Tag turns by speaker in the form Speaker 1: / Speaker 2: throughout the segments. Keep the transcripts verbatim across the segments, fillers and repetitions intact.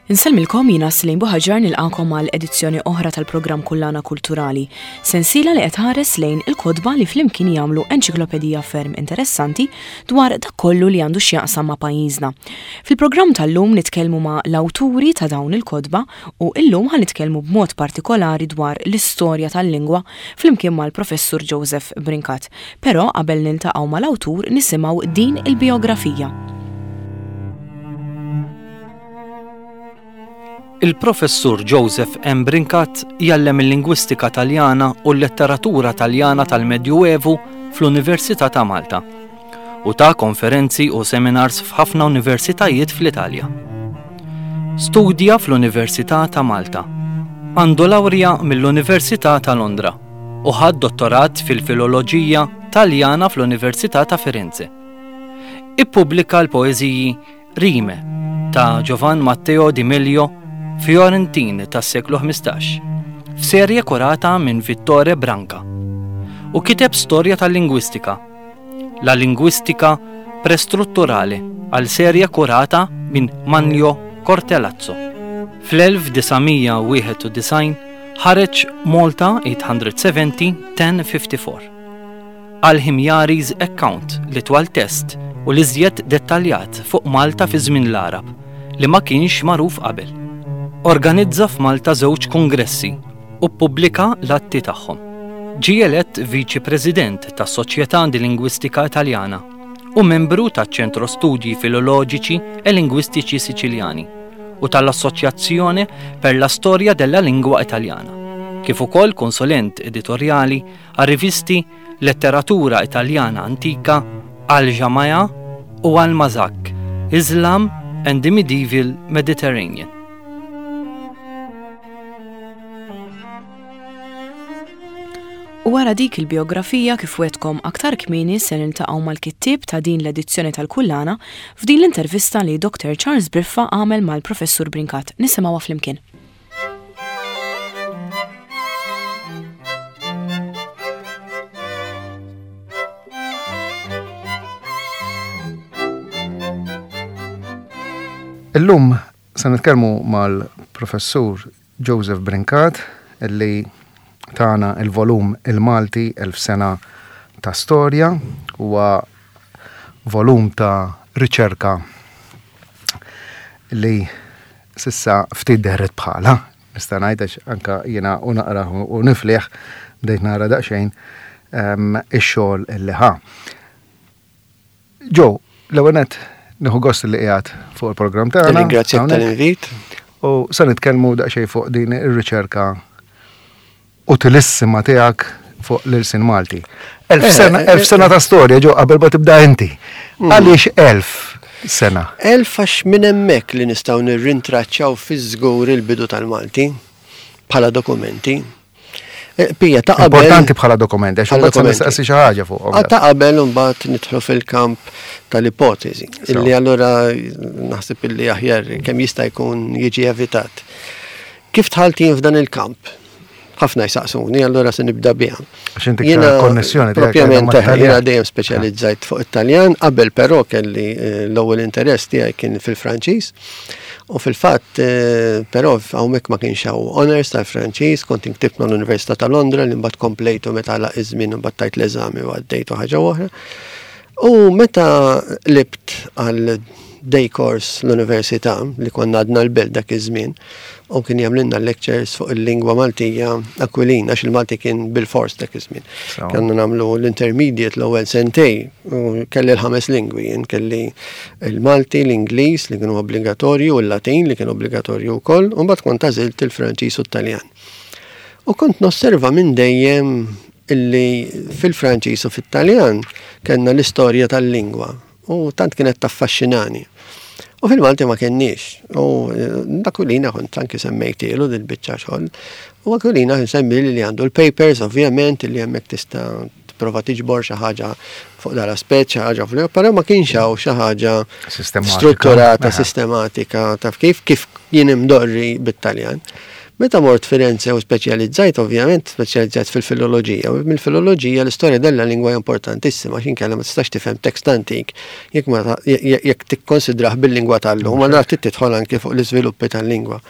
Speaker 1: Insellmilkom, jiena Celine Buhagiar, nilqagħkom għal edizzjoni oħra tal-programm Kullana Kulturali. Sensiela li qed tħares lejn il-kotba li flimkien jagħmlu enċiklopedija ferm interessanti dwar dak kollu li għandu x'jaqsam ma' pajjiżna. Fil-programm tal-lum nitkellmu ma' l-awturi ta' dawn il-kotba u illum ħa nitkellmu b'mod partikolari dwar l-istorja tal-lingwa flimkien mal-Professur Joseph Brincat. Però qabel niltaqgħu mal-awtur nisimgħu din il-biografija.
Speaker 2: Il-Professur Joseph M. Brincat jgħallem il-lingwistika Taljana u l-letteratura Taljana tal-Medjuevu fl-Università ta' Malta u ta' konferenzi u seminars f'ħafna universitajiet fl-Italja. Studja fl-Università ta' Malta. Għandu lawrja mill-Università ta' Londra u ħad dottorat fil-Filoloġija Taljana fl-Università ta' Firenze. Ippubblika l-poeżiji Rime ta' Giovan Matteo di Meglio, Fiorentin tas-seklu ħmistax, f'serje kurata minn Vittore Branca, u kiteb storja tal-lingwistika, La Linguistica Prestrutturale, għal serje kurata minn Manlio Cortellazzo. Fl-elf disa' mija wieħed u disgħin ħareġ Malta eight hundred seventy ten fifty-four. Al-Himyari's Account, li twal test u l-iżjed dettaljat fuq Malta fi żmien l-Arab li ma kienx magħruf qabel. Organizza f'Malta żewġ kongressi u ppubblika l-atti tagħhom. Ġie elett Viċi President tas-Soċjetà di Lingwistika Italjana u membru taċ-Ċentro Studi Filoloġiċi e Lingwistiċi Siċiljani u tal-Assoċjazzjone per la Storia della Lingua Italiana, kif ukoll konsulent editorjali għal rivisti Letteratura Italjana Antika, Al-Jamaja u Al-Mazak, Islam and the Medieval Mediterranean.
Speaker 1: U wara dik il-biografija, kif wetkom aktar kmieni, se niltaqgħu mal-kittieb ta' din l-edizzjoni tal-Kullana f'din l-intervista li Doktor Charles Briffa għamel mal-Professur Brincat. Nisimgħuha flimkien.
Speaker 3: Illum se nitkellmu mal-Professur Joseph Brincat illi tana il-volum Il-Malti elf sena ta' storja. Huwa volum ta' riċerka li sissa ftit dehret bħala, nista' ngħid, għax anka jiena u naqra u nifliħ bdejt nara daqsxejn, ehm, ix-xogħol illi ħa. Joe, l-ewwel nett nieħu gost li qiegħed fuq il-programm tagħna.
Speaker 4: Nirringrazzjak
Speaker 3: hawnhekk.
Speaker 4: tal-invit.
Speaker 3: U se nitkellmu daqsxejn fuq din ir-riċerka utilissima tiegħek fuq l-ilsien Malti. Elf
Speaker 4: Eh,
Speaker 3: sena,
Speaker 4: eh,
Speaker 3: elf sena ta' storja, Joe, qabel ma tibda inti.
Speaker 4: Mm.
Speaker 3: Għaliex elf sena?
Speaker 4: Elf għax minn hemmhekk li nistgħu nirrintraċċaw fiż-żgur il-bidu tal-Malti bħala dokumenti. Eh, Pija, ta' qabel
Speaker 3: Importanti bħala dokumenti, għax
Speaker 4: Bħala
Speaker 3: imbagħad se
Speaker 4: dokumenti.
Speaker 3: nistaqsi xi ħaġa fuqhom.
Speaker 4: Ah, ta' qabel imbagħad nidħlu fil-kamp tal-ipotezi,
Speaker 3: So.
Speaker 4: illi allura naħseb illi aħjar kemm jista' jkun jiġi evitat. Kif dħalt jien f'dan il-kamp? Ħafna jsaqsuni, allura se nibda biha.
Speaker 3: Għax inti
Speaker 4: Jiena
Speaker 3: ktar konnessjoni tiegħek
Speaker 4: propjament,
Speaker 3: ma' Taljan.
Speaker 4: jiena dejjem speċjalizzajt fuq it-Taljan, qabel però kelli, eh, l-ewwel interess tiegħi kien fil-Franċiż. U fil-fatt, eh, però hawnhekk ma kienx hawn honors tal-Franċiż, kont inktibt mal-Università ta' Londra li mbagħad komplejtu meta għalaq iż-żmien u mbagħad tajt l-eżami u għaddejtu ħaġa oħra. U meta libt għal day course l-università li konna għadna l-belt dak iż-żmien, u kien jagħmlilna lectures fuq il-lingwa Maltija Aquilina, għax il-Malti kien bil-fors dak iż-żmien.
Speaker 3: So.
Speaker 4: Kellna nagħmlu l-intermediate l-ewwel sentej, u kelli l-ħames lingwi, jien kelli il-Malti, l-Ingliż li kienu obbligatorju, u l-Latin li kien obbligatorju wkoll, u mbagħad kont għażilt il-Franċiż u t-Taljan. U kont nosserva minn dejjem illi fil-Franċiż u fit-Taljan kellna l-istorja tal-lingwa, u tant kienet taffaxxinani. U fil-Malti ma kenniex. U, eh, Aquilina kont anki semmejtielu dil-biċċa xogħol. U Aquilina nsemmi li għandu l-papers, ovvjament, li hemmhekk tista' tipprova tiġbor xi ħaġa fuq dal-aspett, xi ħaġa fuq, però ma kienx hawn xi ħaġa
Speaker 3: Sistematika.
Speaker 4: strutturata,
Speaker 3: Aha.
Speaker 4: sistematika, taf kif, kif jien imdorri bit-Taljan. Meta mort Firenze u speċjalizzajt, ovvjament, speċjalizzajt fil-filoloġija. U mill-filoloġija l-istorja della lingwa importantissima, għax inkella ma tistax tifhem tekst antik jekk ma jekk tikkonsidrah bil-lingwa tal-lum, allura trid tidħol anke fuq l-iżviluppi tal-lingwa.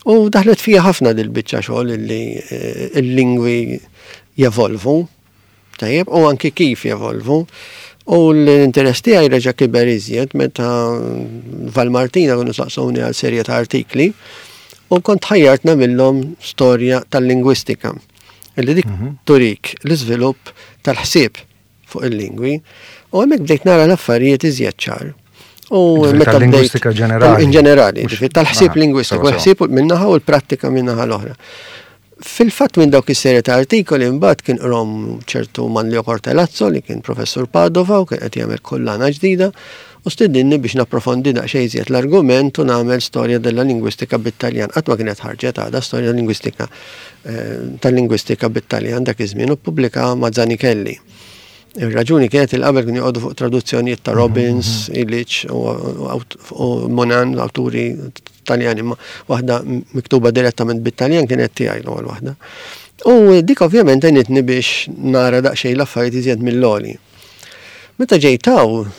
Speaker 4: U daħlet fija ħafna dil-biċċa xogħol illi eh, il-lingwi jevolvu, tajjeb, u anki kif jevolvu. U l-interess tiegħi reġa' kiber iżjed meta Valmartina kienu saqsuni għal serje ta' artikli u kont ħajjart nagħmilhom storja tal-lingwistika. Illi dik mhm. turik l-iżvilupp tal-ħsieb fuq il-lingwi u hemmhekk bdejt nara l-affarijiet iżjed ċar.
Speaker 3: U meta lingwistika ġenerali.
Speaker 4: In ġenerali, tal-ħsieb lingwistiku, l-ħsieb minnaħa u l-prattika minnaħa l-oħra. Fil-fatt minn dawk is-serje ta' artikoli mbagħad kien qrom ċertu Manlio Cortelazzo li kien professur Padova u kien qed jagħmel kollana ġdida u stidinni biex napprofondi daqsxejn iżjed l-argument u nagħmel storja della lingwistika bit-Taljan. Qatt ma kienet ħarġet għadha storja lingwistika eh, tal-lingwistika bit-Taljan dak iż-żmien u ppubblika ma' Zanichelli. Ir-raġuni kienet il qabel kienu joqogħdu fuq traduzzjonijiet ta' Robbins, mhm. Illich u Monan, awturi Taljani, ma waħda miktuba direttament bit-Taljan kienet tiegħi l-ewwel waħda. U dik ovvjament għenitni biex nara daqsxejn l-affarijiet iżjed mill-għoli. Meta ġejt hawn,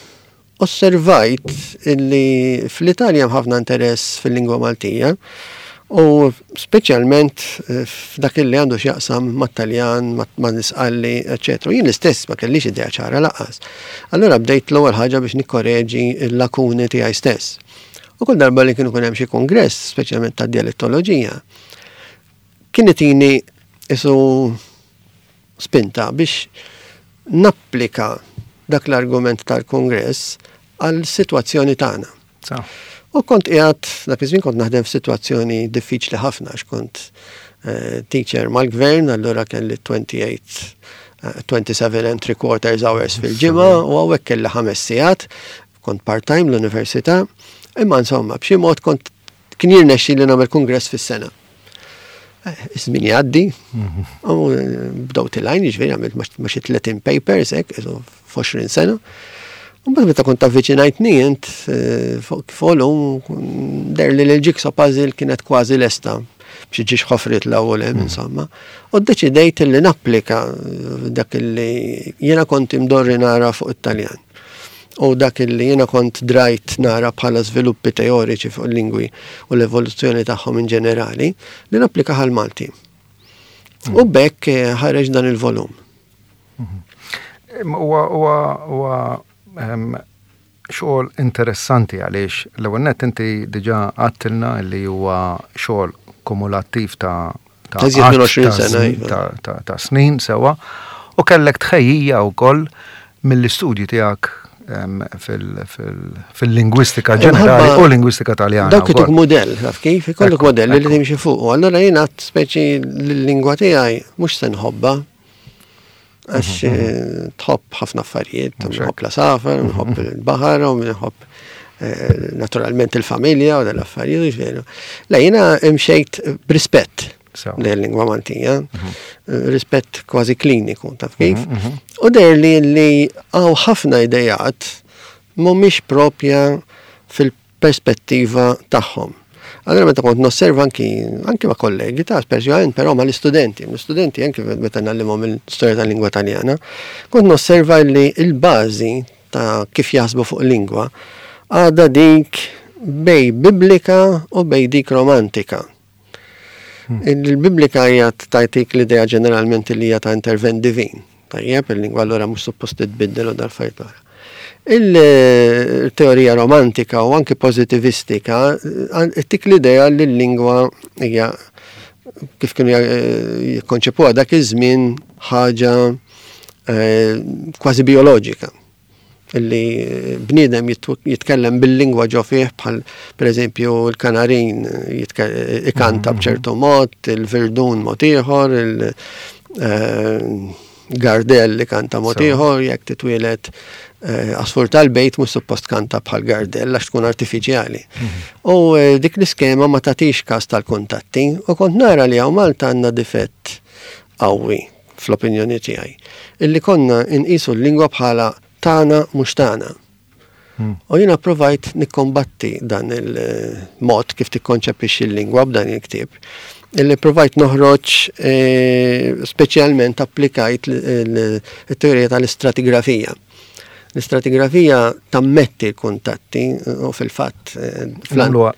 Speaker 4: osservajt illi fl-Italja hemm ħafna interess fil-lingwa Maltija u speċjalment eh, f'dak li għandu x'jaqsam mat-Taljan, ma' Nisqalli, eċetera. Jien l-istess ma kellix idea ċara lanqas. Allura bdejt l-ewwel ħaġa biex nikkoreġi l-lakuni tiegħi stess. U kull darba li kienu kun hemm xi kongress, speċjalment ta' dialettoloġija, kien itini isu spinta biex napplika dak l-argument tal-kongress għal situazzjoni tagħna. U kont qiegħed dak iż-żmien kont naħdem f'sitwazzjoni diffiċli ħafna għax kont eh, teacher mal-gvern, allura kelli twenty-eight, twenty-seven and three quarters hours fil-ġimgħa u hawnhekk kelli ħames sigħat, kont part-time l-università, imma insomma b'xi mod kont kien jirnexxi li nagħmel kongress fis-sena. Eh, iż-żmien jgħaddi, u eh, bdew tilgħin, jiġifieri għamilt ma' xi tletin papers hekk, f'għoxrin sena. U mbagħad meta kont avviċinajtni int eh, fuq volum deher li l-jigsaw puzzle kienet kważi lesta biex ġiex ħofrit l-ewwel hemm insomma. U ddeċidejt li napplika dak li jiena kont imdorri nara fuq it-Taljan. U dak li jiena kont drajt nara bħala żviluppi teoriċi fuq il-lingwi u l-evoluzzjoni tagħhom in ġenerali, li napplika għal Malti. U b'hekk eh, ħareġ dan il-volum.
Speaker 3: Huwa huwa huwa ehm, xogħol interessanti għaliex l-ewwel nett inti diġà għedtilna li huwa xogħol kumulattiv ta'
Speaker 4: ta' iżjed minn
Speaker 3: għadd
Speaker 4: għoxrin
Speaker 3: ta'
Speaker 4: sena,
Speaker 3: snin-
Speaker 4: iva.
Speaker 3: ta' ta' ta' snin sewa u kellek tħejjija wkoll mill-istudji tiegħek ehm, fil- fil- fil-lingwistika ġenerali
Speaker 4: Imħabba
Speaker 3: u lingwistika Taljana.
Speaker 4: Dawk ituk
Speaker 3: wkoll.
Speaker 4: modell, taf kif? Ikollok
Speaker 3: Ekku,
Speaker 4: modell li
Speaker 3: ekku.
Speaker 4: timxi fuq. U allura jiena speċi l-lingwa tiegħi mhux se nħobbha. Għax eh, tħobb ħafna affarijiet,
Speaker 3: Mhux
Speaker 4: nħobb l-għasafar, nħobb il-baħar, u nħobb eh, naturalment il-familja u dal-affarijiet, ġifieri. La jiena imxejt b'rispett
Speaker 3: Sew.
Speaker 4: lejn lingwa Maltija, eh, rispett kważi kliniku, taf kif?
Speaker 3: Mhm,
Speaker 4: U deher li li hawn ħafna idejat mhumiex propja fil-perspettiva tagħhom. Allora meta kont nosserva anki anki ma' kollegi ta' speċjalment però ma' l-istudenti, l-istudenti anki meta ngħallimhom il-storja tal-lingwa Taljana, kont nosserva li il-bażi ta' kif jaħsbu fuq lingwa għadha dik bejn biblika u bejn dik romantika. Il-biblika hija tagħtik l-idea ġeneralment li hija ta' intervent divin. Tajjeb, il-lingwa allura mhux suppost titbiddel u dal-affarijiet oħra. Il-teorija romantika u anki pozitivistika tik l-idea li l-lingwa hija kif kienu jikkonċepuha dak iż-żmien ħaġa eh, kważi bioloġika illi bniedem jitkellem bil-lingwa ġo fih bħal per eżempju l-kanarin ikanta mhm. b'ċertu mod, il-virdun mod ieħor, il-gardell eh, ikanta mod ieħor, jekk titwielet eh, għasfur tal-bejt mhux suppost kanta bħal gardell għax tkun artifiċjali. Mhm. U eh, dik l-iskema ma tagħtix każ tal-kuntatti u kont nara li hawn Malta għandna difett qawwi fl-opinjoni tiegħi. Illi konna inqisu l-lingwa bħala tagħna mhux tagħna. Hmm. U jiena provajt nikkombatti dan il-mod kif tikkonċepixxi l-lingwa b'dan il-ktieb. Illi provajt noħroġ eh, speċjalment applikajt il-teorija tal-istratigrafija. L-istratigrafija tammetti l-kuntatti u fil-fatt. Eh,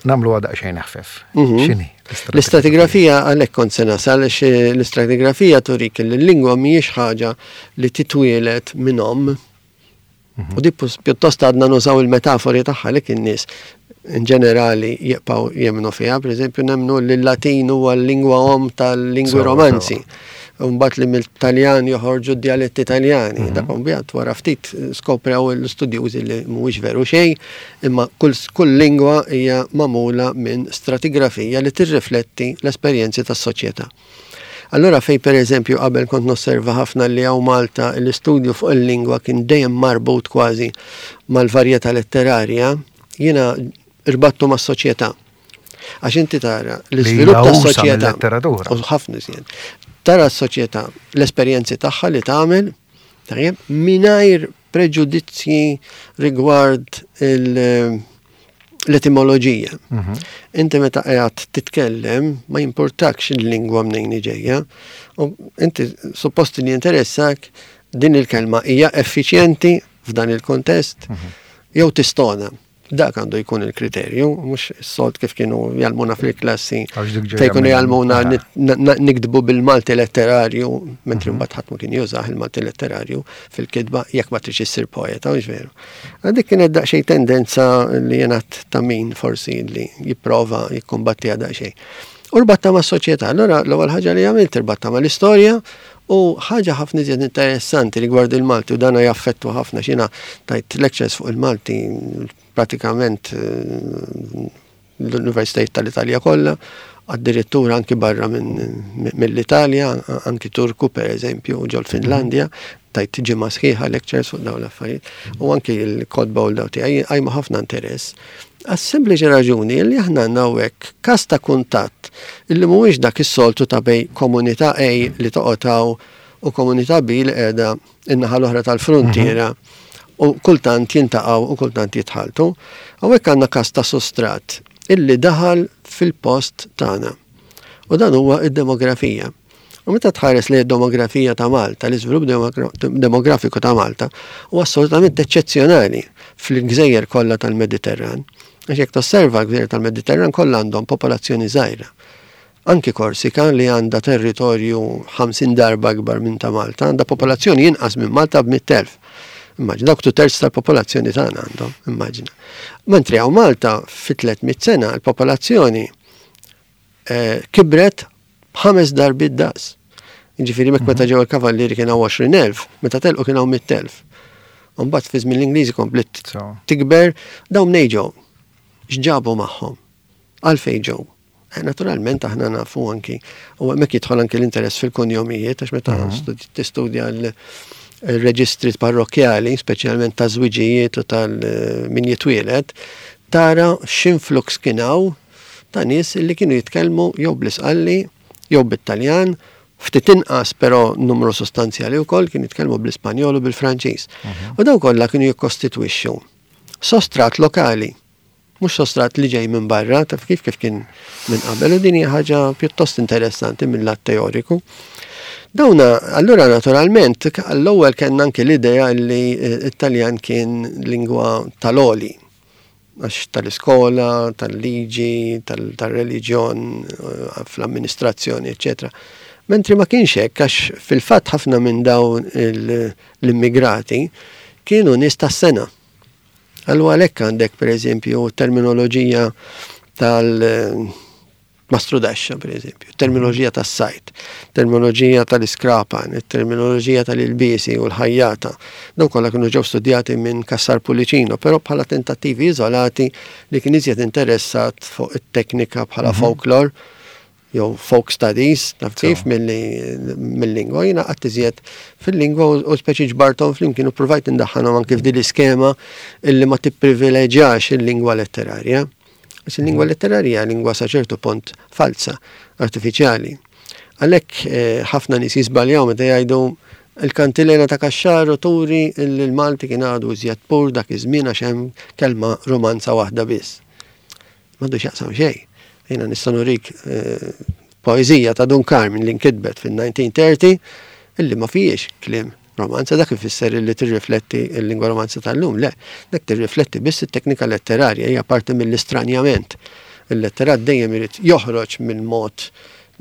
Speaker 3: nagħmlu daqsxejn ħfef.
Speaker 4: Mhm.
Speaker 3: X'inhi?
Speaker 4: L-istratigrafija għalhekk kont se nasal għax l-istratigrafija turik li l-lingwa mhijiex ħaġa li titwielet minn omm. Mhm. U di pjuttost għadna nużaw il-metafori tagħha li kien nies in ġenerali jibqgħu jemmnu fiha, per eżempju nemmnu li l-Latin huwa l-lingwa om tal-lingwi romanzi. Mbagħad li mill-Taljan joħorġu d-dialetti Italjani. Mhm. Dak mbagħad wara ftit skoprew l-istudjużi li mhuwiex veru xejn, imma kull, kull lingwa hija magħmula minn stratigrafija li tirrifletti l-esperjenzi tas-soċjetà. Allora fej per eżempju qabel kont nosserva ħafna li hawn Malta l-istudju fuq il-lingwa kien dejjem marbut kważi mal-varjetà letterarja, jiena irbattu mas-soċjetà. Għax inti tara l-iżvilupp tas-soċjetà.
Speaker 3: Letteratura.
Speaker 4: U ħafna iżjed. Tara s-soċjetà, l-esperjenzi tagħha li tagħmel, tajjeb, mingħajr preġudizzji rigward il- l-etimoloġija.
Speaker 3: Mhm.
Speaker 4: Inti meta qiegħed titkellem ma jimpurtakx il-lingwa mnejn ġejja. U inti suppost li jinteressak din il-kelma hija effiċjenti f'dan il-kontest
Speaker 3: Mhm.
Speaker 4: jew tistona. Dak għandu jkun il-kriterju, mhux is-soltu kif kienu jgħallmuna fil-klassi.
Speaker 3: Għax dik ġejja
Speaker 4: Fejn kienu
Speaker 3: minn-
Speaker 4: jgħallmuna
Speaker 3: Ah.
Speaker 4: nit- na- na- nikdbu bil-Malti letterarju, mentri
Speaker 3: Mhm.
Speaker 4: mbagħad ħadd ma kien jużah il-Malti letterarju fil-kitba jekk ma tridx issir poeta, mhux veru. Dik kienet daqsxejn tendenza li jiena ta' min forsi li jipprova jikkumbattiha daqsxejn. U rbatta ma' soċjetà. Allora l-ewwel ħaġa li għamilt irbatta ma' l-istorja u ħaġa ħafna iżjed interessanti rigward il-Malti u dana jaffettwa ħafna xina tajt lectures fuq il-Malti pratikament eh, l-Universitajiet tal-Italja kollha, addirittura anki barra minn mill-Italja, anki Turku per eżempju, ġol Finlandja, tajt ġimgħa sħiħa lectures fuq dawn l-affarijiet, u anki l-kotba u l-daw tiegħi għajmu ħafna interess. Għas-sempliċi raġuni li aħna għandna hawnhekk każ ta' kuntatt illi mhuwiex dak is-soltu ta' bejn komunità A li toqgħod hawn u komunità B li qiegħda in-naħa l-oħra tal-frontiera u kultant jiltaqgħu u kultant jitħaltu. Hawnhekk għandna każ ta' sostrat illi daħal fil-post tagħna. U dan huwa id-demografija. U meta tħares li d-demografija ta' Malta, l-iżvilupp demogra- demografiku ta' Malta, huwa assolutament eċċezzjonali fil-gżejjer kollha tal-Mediterran. Għax jekk tosserva l-gżejjer tal-Mediterran kollha għandhom popolazzjoni żgħira. Anki Korsika li għandha territorju ħamsin darba akbar minn ta' Malta, għandha popolazzjoni inqas minn Malta b'mitt elf. Immaġina, dawk terz tal-popolazzjoni tagħna għandhom, immaġina. Mentri hawn Malta fi tliet mitt sena l-popolazzjoni eh, kibret b'ħames darbiet daqs. Ġifieri mek meta ġew il-kavallieri kien hawn għoxrin elf, meta telqu kien hawn mitt elf. Mbagħad fi żmien l-Ingliżi komplet
Speaker 3: So.
Speaker 4: tikber, dawn mnejn ġew. X'ġabu magħhom? Għalfejn ġew? Eh, Naturalment aħna nafu anki, u hemmhekk jidħol anki l-interess fil-kunjomijiet, għax meta studi- tistudja l- il-reġistri parrokjali, speċjalment ta' żwiġijiet u tal-min jitwielet, tara x'influx kien hawn ta' nies li kienu jitkellmu jew bl-Isqalli, jew bit-Taljan, ftit inqas però numru sostanzjali wkoll kienu jitkellmu bl-Ispanjol u bil-Franċiż. U dawn kollha kienu jikkostitwixxu sostrat lokali, mhux sostrat li ġej minn barra, taf kif kif kien minn qabel, u din hija ħaġa pjuttost interessanti mill-lat teoriku. Dawna, allura naturalment, għall-ewwel kellna anke l-idea li eh, it-Taljan kien lingwa tal-għoli, għax tal-iskola, tal-liġi, tal-reliġjon, eh, fl-amministrazzjoni, eccetera. Mentri ma kienx hekk, għax fil-fatt ħafna minn dawn il- l-immigrati kienu nies tas-sengħa. Allura għalhekk għandek per eżempju terminoloġija tal- mastrudaxxa, per eżempju, terminoloġija tas-sajt, terminoloġija tal-iskrapan, terminoloġija tal-ilbiesi u l-ħajjata. Dawn kollha kienu ġew studjati minn Cassar Pullicino, però bħala tentattivi iżolati li kien iżjed interessat fuq it-teknika bħala folklore jew folk studies, taf kif, mill-lingwa. Jiena qatt iżjed fil-lingwa u u speċi ġbarthom flimkien u provajt indaħħalhom anke f'din l-iskema illi ma tipprivileġġjax il-lingwa letterarja. Għax il-lingwa letterarja lingwa sa ċertu punt falsa, artifiċjali. Għalhekk eh, ħafna nies jiżbaljaw meta jgħidu il-kantilena ta' Caxaro turi li l-Malti kien għadu iżjed pur dak iż-żmien għax hemm kelma romanza waħda biss. M'għandu x'jaqsam xejn. Jiena nista' nurik eh, Poeżija ta' Dun Karm li nkitbet fil-elf disa' mija u tletin illi ma fihiex kliem romanza. Dak ifisser li tirrifletti l-lingwa romanza tal-lum? Le, dak tirrifletti biss it-teknika letterarja, hija parti mill-istranjament. Il-letterat dejjem irid joħroġ minn mod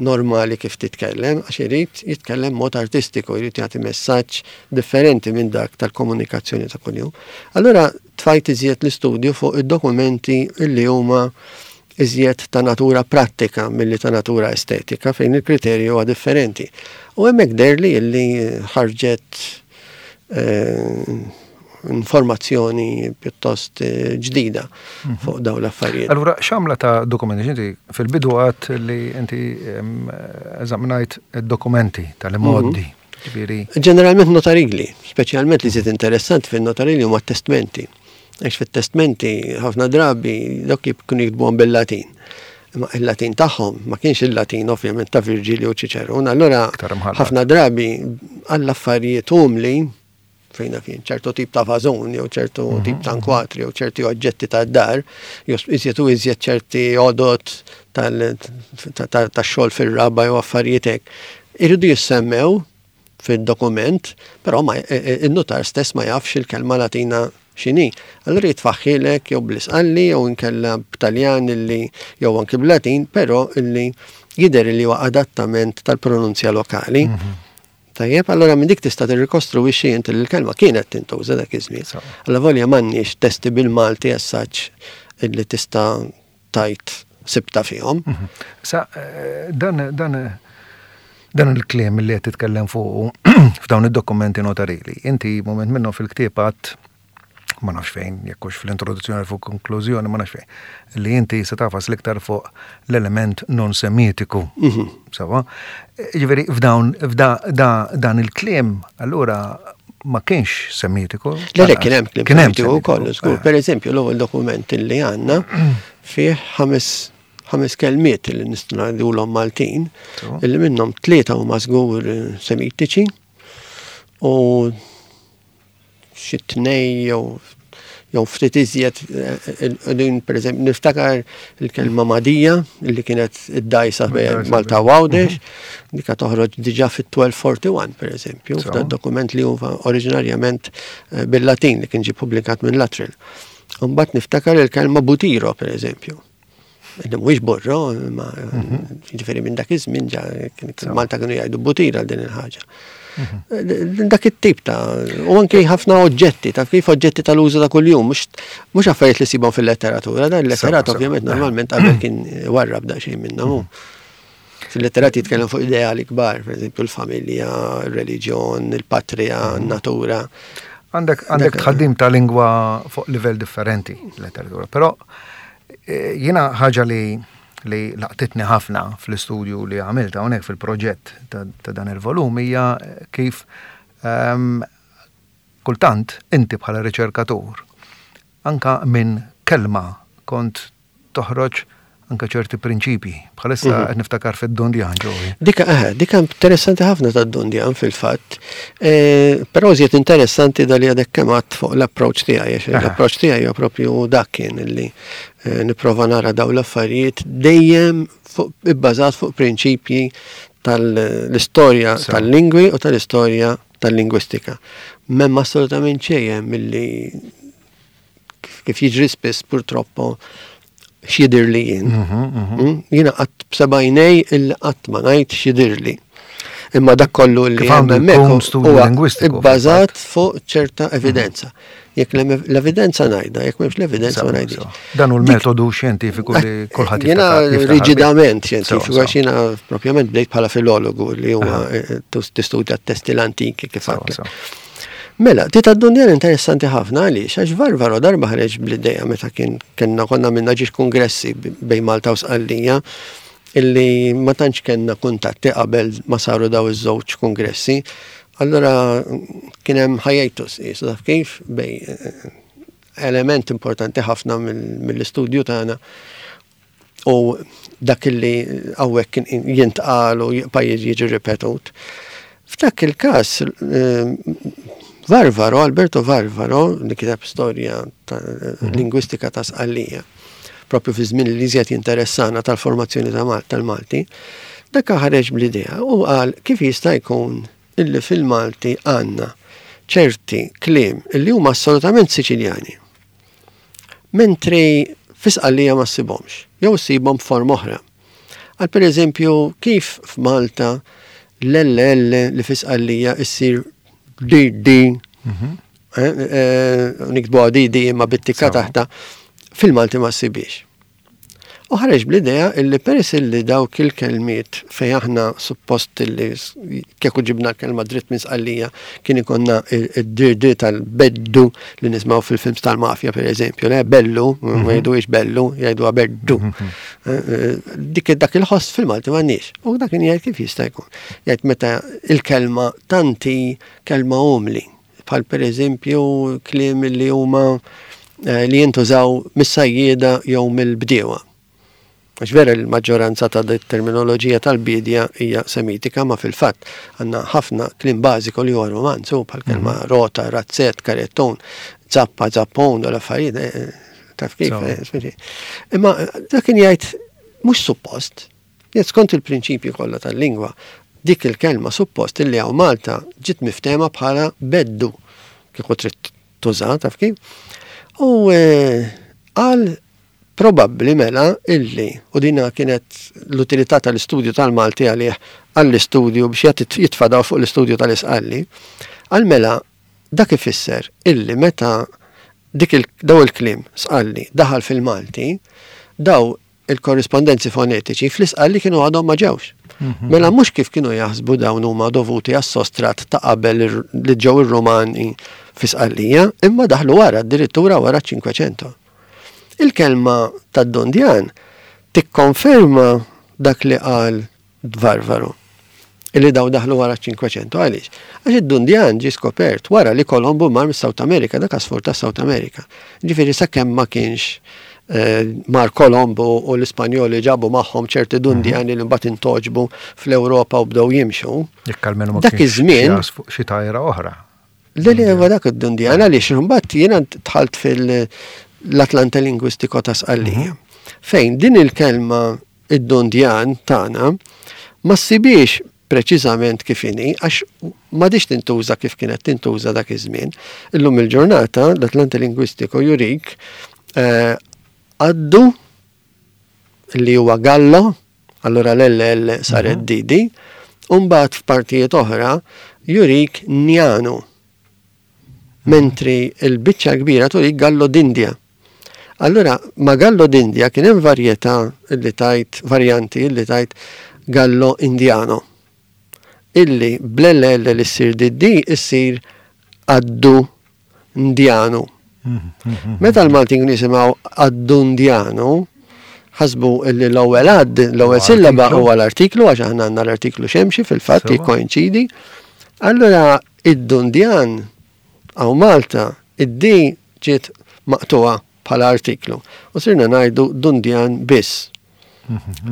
Speaker 4: normali kif titkellem, għax irid jitkellem mod artistiku, irid jagħti messaġġ differenti minn dak tal-komunikazzjoni ta' kuljum. Allura tfajt iżjed l-istudju fuq id-dokumenti illi huma iżjed ta' natura prattika milli ta' natura estetika, fejn il-kriterju huwa differenti. U hemmhekk deherli illi ħarġet eh, informazzjoni pjuttost eh, ġdida mhm. fuq dawn l-affarijiet.
Speaker 3: Allura, x'għamla ta' dokumenti? Inti fil-bidu għedt li inti eżaminajt id-dokumenti tal-imgħoddi. Mhm.
Speaker 4: Ġeneralment notarili, speċjalment li żied interessanti fil-notarili huma testmenti. Għax fit-testmenti ħafna drabi dawk kienu jiktbuhom bil-Latin. Imma il-Latin tagħhom ma kienx il-Latin ovvjament ta' Virgilio u Ċiċerun. Allura ħafna drabi għall-affarijiet umli, fejna kien ċertu tip ta' vażun, jew ċertu mhm, tip ta' nkwatri, jew ċerti oġġetti ta' dar, jew iżjed u iżjed ċerti għodod tal-xogħol fir-raba jew affarijiet hekk. Iridu jissemmew fil-dokument, però ma e, e, il-notar stess ma jafx il-kelma Latina x'inhi. Allura jitfagħhielek jew bl-Isqalli jew inkella b'Taljan illi jew anki b'Latin, però illi jidher li huwa adattament tal-pronunzja lokali. Mhm. Tajjeb, allora minn dik tista' tirrikostruwixxi inti li l-kelma kienet tintuża dak iż-żmien. Alla volja m'għandniex testi bil-Malti as such illi tista' tgħid sibta fihom.
Speaker 3: Mhm. Sa eh, dan dan dan il-kliem li qed titkellem fuq f'dawn id-dokumenti notarili. Inti moment minnhom fil-ktieb għedt, ma nafx fejn, jekk hux fl-introduzzjoni, fuq konklużjoni, ma nafx fejn, li inti se tagħfas l-iktar fuq l-element non semitiku. Mhm. Sewwa? Ġifieri f'dawn f'da dan il-kliem allura ma kienx semitiku.
Speaker 4: Le, le, kien hemm kliem semitiku wkoll, żgur. Per eżempju, l-ewwel dokument li għandna fih ħames ħames kelmiet li nistgħu ngħidulhom Maltin, illi minnhom tlieta huma żgur semitiċi u xi tnej jew jew ftit iżjed din. Per eżempju, niftakar il-kelma madija li kienet id-dajsa bejn Malta u Għawdex, mhm. dika toħroġ diġà fit-elf tlietmija u erbgħa u erbgħin, per eżempju, f'dan dokument li huwa oriġinarjament eh, bil-Latin li kien ġie publikat minn Luttrell. Mbagħad niftakar il-kelma butiro, per eżempju. Illi mhuwiex borro, ma mhm. ġifieri minn dak iż-żmien ġa Malta kienu jgħidu butira din il-ħaġa. Mhm. Dak it-tip ta' u anke ħafna oġġetti, ta' kif oġġetti tal-użu ta' kuljum, mhux affarijiet li sibhom fil-letteratura, dan il-letterat ovvjament normalment qabel kien warrab daqsxejn minnha hu. Fil-letterat jitkellem fuq ideali kbar, per eżempju l-familja, il-reliġjon, il-patrija, n-natura.
Speaker 3: Għandek għandek tħaddim ta' lingwa fuq livell differenti letteratura, però eh, jiena ħaġa li li laqtitni ħafna fl-istudju li għamilt hawnhekk fil-proġett ta' dan il-volum hija kif um, kultant inti bħala riċerkatur anka minn kelma kont toħroġ anka ċerti prinċipi. Bħalissa mhm. qed niftakar fid-Dundjan ġowi.
Speaker 4: Dika eh, dika interessanti ħafna tad-Dundjan fil-fatt. E, però iżjed interessanti dal li għadek kemm fuq l-approach tiegħi, għax l-approach tiegħi huwa propju dak kien illi eh, nipprova nara daw l-affarijiet dejjem ibbażat fuq prinċipji tal-istorja tal-lingwi u tal-istorja tal-lingwistika. M'hemm assolutament xejn milli kif jiġri spiss purtroppo x'jidhirli jien. Mhm, mhm. Mm? Jiena qatt b'sebgħajnej il qatt ma ngħid x'jidhirli. Imma dak kollu li
Speaker 3: hemmhekk
Speaker 4: huwa ibbażat fuq ċerta evidenza. Jekk l-evidenza ngħidha, jekk m'hemmx l-evidenza ma ngħidix.
Speaker 3: Dan hu l-metodu xjentifiku li kulħadd
Speaker 4: Jiena riġidament xjentifiku, għax jiena propjament bdejt bħala filologu li huwa eh, tistudja t-testi l-antiki kif. Mela, ti tad-Dundjan interessanti ħafna. Għaliex? Għax Varvaro darba ħareġ bl-ideja meta kien kellna konna minna ġiex kongressi bejn Malta u Sqallija illi ma tantx kellna kuntatti qabel ma saru daw iż-żewġ kongressi. Allora kien hemm hiatus, qisu, taf kif, bejn eh, element importanti ħafna mill-istudju tagħna u dak illi hawnhekk kien jintqal u jibqa' jiġi ripetut. F'dak il-każ eh, Varvaro, Alberto Varvaro, li kiteb storja ta' mhm. lingwistika ta' Sqallija, propju fi żmien li iżjed jinteressana tal-formazzjoni ta' tal-Malti, Dak ħareġ bl-idea u qal kif jista' jkun illi fil-Malti għandna ċerti kliem illi huma assolutament Siċiljani. Mentri fi Sqallija ma ssibhomx, jew ssibhom f'forma oħra. Għal per eżempju, kif f'Malta l-L L li fi Sqallija issir D D,
Speaker 3: Mhm.
Speaker 4: eh, eh, niktbuha D D imma bit-tikka
Speaker 3: Sewa.
Speaker 4: taħta, fil-Malti ma ssibhiex. U ħareġ bl-idea illi peress illi dawk il-kelmiet fej aħna suppost illi s- kieku ġibna l-kelma dritt minn Sqallija kien ikonna id-D D tal-beddu li nismaw fil-films tal-mafja, per eżempju, le bellu, ma jgħiduhiex bellu, jgħidu beddu. Eh, eh, Dik dak il-ħoss fil-Malti m'għandniex. U dak kien jgħid kif jista' jkun. Jgħid meta il-kelma tanti kelma umli, bħal per eżempju kliem li huma eh, li jintużaw mis-sajjieda jew mill-bdiewa. Għax vera l-maġġoranza ta' terminoloġija tal-bidja hija semitika, ma fil-fatt għandna ħafna kliem bażiku li huwa romanzu, bħal kelma rota, razzett, karettun, zappa, zappon, u l-affarijiet, eh, taf kif.
Speaker 3: So.
Speaker 4: eh, speċi. Imma eh, dak kien jgħid mhux suppost, jgħid skont il-prinċipju kollha tal-lingwa, dik il-kelma suppost illi hawn Malta ġiet miftema bħala beddu, kieku trid tuża, taf kif. U eh, qal probabbli mela illi, u dina kienet l-utilità tal-istudju tal-Malti għalih għall-istudju biex jagħti jitfadaw fuq l-istudju tal-Isqalli, għal mela dak ifisser illi meta dik il, daw il-kliem Sqalli daħal fil-Malti, daw il-korrispondenzi fonetiċi fl-Isqalli kienu għadhom ma ġewx. Mela mhux kif kienu jaħsbu dawn huma dovuti għas-sostrat ta' qabel ir- li ġew ir-Rumani fi Sqallija, imma daħlu wara, addirittura wara ċ-Cinquecento. Il-kelma tad-Dundjan tikkonferma dak li qal Varvaro, illi daw daħlu wara ċ-Cinquecento. Għaliex? Għax id-Dundjan ġi skopert wara li Kolombu mar mis-South America, dak għasfur ta' South America. Ġifieri sakemm ma kienx eh, mar Kolombu u l-Ispanjoli ġabu magħhom ċerti Dundjani li mbagħad intogħġbu fl-Ewropa u bdew jimxu.
Speaker 3: Jekk almenu ma
Speaker 4: Dak
Speaker 3: kienx
Speaker 4: iż-żmien-
Speaker 3: xi għasfur- xi tajra oħra.
Speaker 4: Le le huwa dak id-Dundjan, għaliex imbagħad jiena dħalt fil-Atlante Lingwistiko ta' Sqallija. Fejn din il-kelma id-Dundjan tagħna ma ssibiex preċiżament kif inhi, għax m'għadix tintuża kif kienet tintuża dak iż-żmien. Illum il-ġurnata l-Atlante Lingwistiko jurik eh, għaddu li huwa Gallo, allura l-L L saret D D, u mbagħad f'partijiet oħra jurik Njanu. Mentri il-biċċa kbira turik Gallo d'India. Allura, ma Gallo d'India kien hemm varjetà illi tajt, varjanti illi tajt Gallo Indiano. Illi bl-L L li ssir D D issir Addu Indianu. Meta l-Maltin nisimgħu Addu Indianu, ħasbu illi l-ewwel għad, l-ewwel
Speaker 3: Huwa
Speaker 4: sillaba
Speaker 3: artiklu.
Speaker 4: huwa l-artiklu, għax aħna għandna l-artiklu xemxi fil-fatt
Speaker 3: Sewa.
Speaker 4: jikkoinċidi. Allura id-Dundjan hawn Malta, id-D ġiet maqtuha bħala artiklu. U sirna ngħidu Dundjan biss.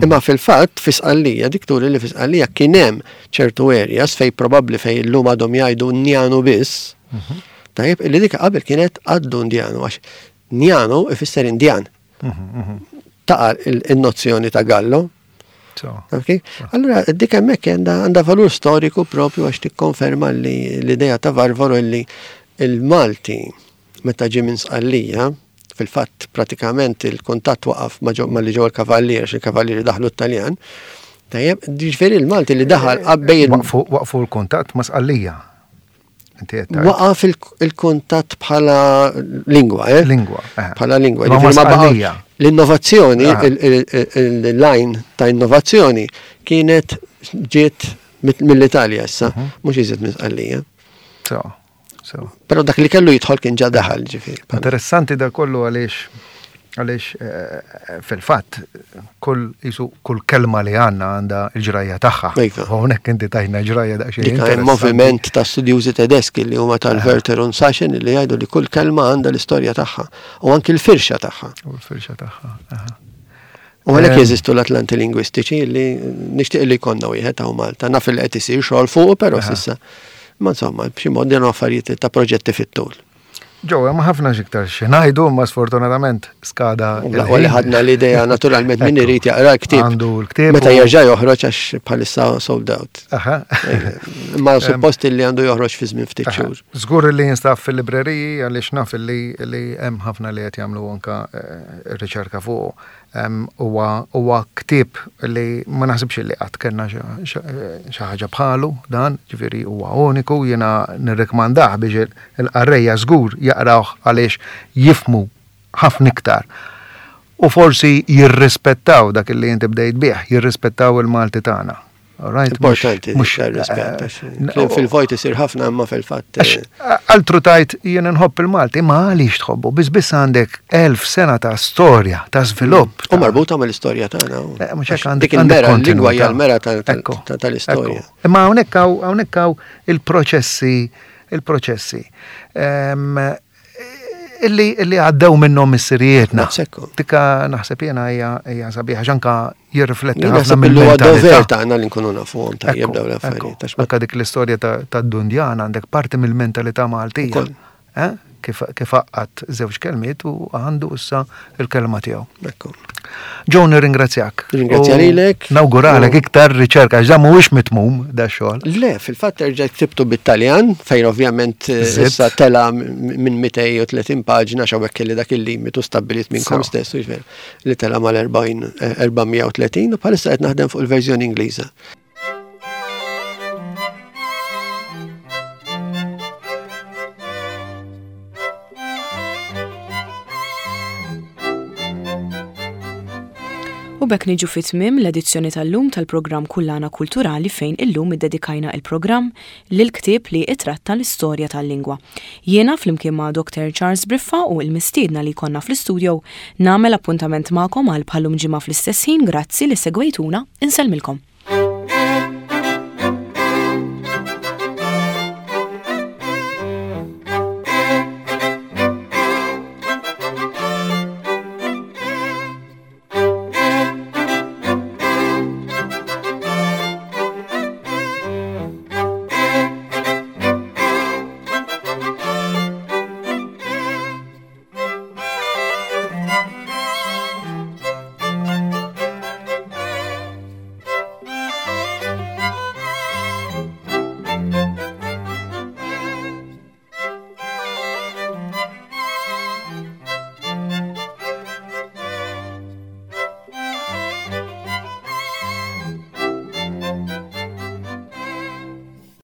Speaker 4: Imma fil-fatt fi Sqallija, dik turi li fi Sqallija kien hemm ċertu areas fej probabbli fej illum għadhom jgħidu Njanu biss. Tajjeb, illi dik qabel kienet għaddu Ndjanu, għax Njanu ifisser Indjan. Taqa il-nozzjoni ta' Gallo.
Speaker 3: So,
Speaker 4: Ok? Allora, dik hemmhekk għandha għandha valur storiku propju għax tikkonferma li l-idea ta' Varvaro li il-Malti meta ġie minn Sqallija, fil-fatt pratikament il-kuntatt waqaf ma ġew- ma li ġew il-kavallieri, għax il-kavallieri daħlu t-Taljan. Tajjeb, ġifieri il-Malti li daħal qabbej
Speaker 3: Waqfu waqfu l-kuntatt ma' Sqallija. Inti qed tgħid.
Speaker 4: Waqaf il- il-kuntatt bħala lingwa, eh?
Speaker 3: Lingwa, eh.
Speaker 4: Bħala lingwa.
Speaker 3: Ma ma
Speaker 4: Ġifieri ma baqgħux-
Speaker 3: Sqallija.
Speaker 4: L-innovazzjoni,
Speaker 3: Ah.
Speaker 4: il- il- il- il-line ta' innovazzjoni kienet ġiet mit- mill-Italja issa,
Speaker 3: Mhm.
Speaker 4: mhux iżjed minn Sqallija.
Speaker 3: So, so.
Speaker 4: Però dak li kellu jidħol kien ġa daħal, ġifieri.
Speaker 3: Interessanti da kollu għaliex għaliex eh, fil-fatt kull jisu kull kelma li għandna għandha il-ġrajja tagħha.
Speaker 4: Iva.
Speaker 3: U hawnhekk inti tajna ġrajja daqsxejn.
Speaker 4: Dik hemm
Speaker 3: interessanti.
Speaker 4: moviment ta' studjużi tedeski li huma tal-Wörter und Sachsen li jgħidu li kull kelma għandha l-istorja tagħha u anki l-firxa tagħha.
Speaker 3: U l-firxa tagħha. aha.
Speaker 4: U għalhekk
Speaker 3: Em.
Speaker 4: jeżistu l-Atlanti lingwistiċi li nixtieq li jkollna wieħed hawn Malta. Naf li qed isir xogħol fuq, però
Speaker 3: Aha.
Speaker 4: s'issa. Ma insomma, b'xi mod din affarijiet ta' proġetti fit-tul.
Speaker 3: Ġo, hemm ħafna x'iktar xi ngħidu, imma sfortunatament skada.
Speaker 4: L-aqwa li ħadna l-idea naturalment min irid jaqra l-ktieb.
Speaker 3: Għandu l-ktieb.
Speaker 4: Meta jerġa' joħroġ għax bħalissa sold out.
Speaker 3: Aha.
Speaker 4: Imma suppost li għandu joħroġ fi żmien ftit xhur.
Speaker 3: Żgur li jinstab fil-libreriji għaliex naf li hemm ħafna li qed jagħmlu anka riċerka fuq. Huwa ktieb li ma naħsibx li qatt kellna xi ħaġa bħalu dan, ġifieri huwa uniku, jiena nirrikmandah biex il-qarrejja żgur jaqrawh għaliex jifmu ħafna iktar. U forsi jirrispettaw dak li inti bdejt bih, jirrispettaw il-Malti tagħna.
Speaker 4: Importanti, mhux rispett. Fil-vojt isir ħafna imma fil-fatt.
Speaker 3: Altru tajt jien nħobb il-Malti, ma għaliex tħobbu, biss biss għandek elf sena ta' storja, ta' żvilupp.
Speaker 4: U marbuta mal-istorja tagħna.
Speaker 3: Mhux hekk għandek
Speaker 4: Dik il-mera, l-lingwa hija l-mera tal-istorja.
Speaker 3: Imma hawnhekk hawnhekk hawn il-proċessi, il-proċessi. Illi illi għaddew minnhom missirijietna. Tika naħseb jiena hija sabiħa x'anka jirrifletti ħafna
Speaker 4: mill-mentalità tagħna li nkunu nafuhom tajjeb dawn l-affarijiet.
Speaker 3: Anka dik l-istorja tad-Dundjan għandek parti mill-mentalità Maltija. Kif għaqqad żewġ kelmiet u għandu issa il-kelma tiegħu. Joe, nirringrazzjak.
Speaker 4: Ringrazzja lilek.
Speaker 3: Nawguralek iktar riċerka, għax dan mhuwiex mitmum da xogħol.
Speaker 4: Le, fil-fatt erġa' ktibtu bit-Taljan, fejn ovvjament issa tela minn mitejn u tletin paġna x'hawnhekk kelli dak il-limitu stabbilit minnkom stess, jiġifieri li tela mal-erbgħin erba' mija u tletin u bħalissa qed naħdem fuq il-verżjoni Ingliża.
Speaker 1: U bekk niġu fi tmiem l-edizzjoni tal-lum tal-programm Kullana Kulturali fejn illum iddedikajna il-programm lil ktieb li itratta l-istorja tal-lingwa. Jiena flimkien ma' Doctor Charles Briffa u l-mistiedna li konna fl-istudio nagħmel appuntament magħkom għal bħallum ġimgħa fl-istess ħin. Grazzi li segwejtuna, insellmilkom.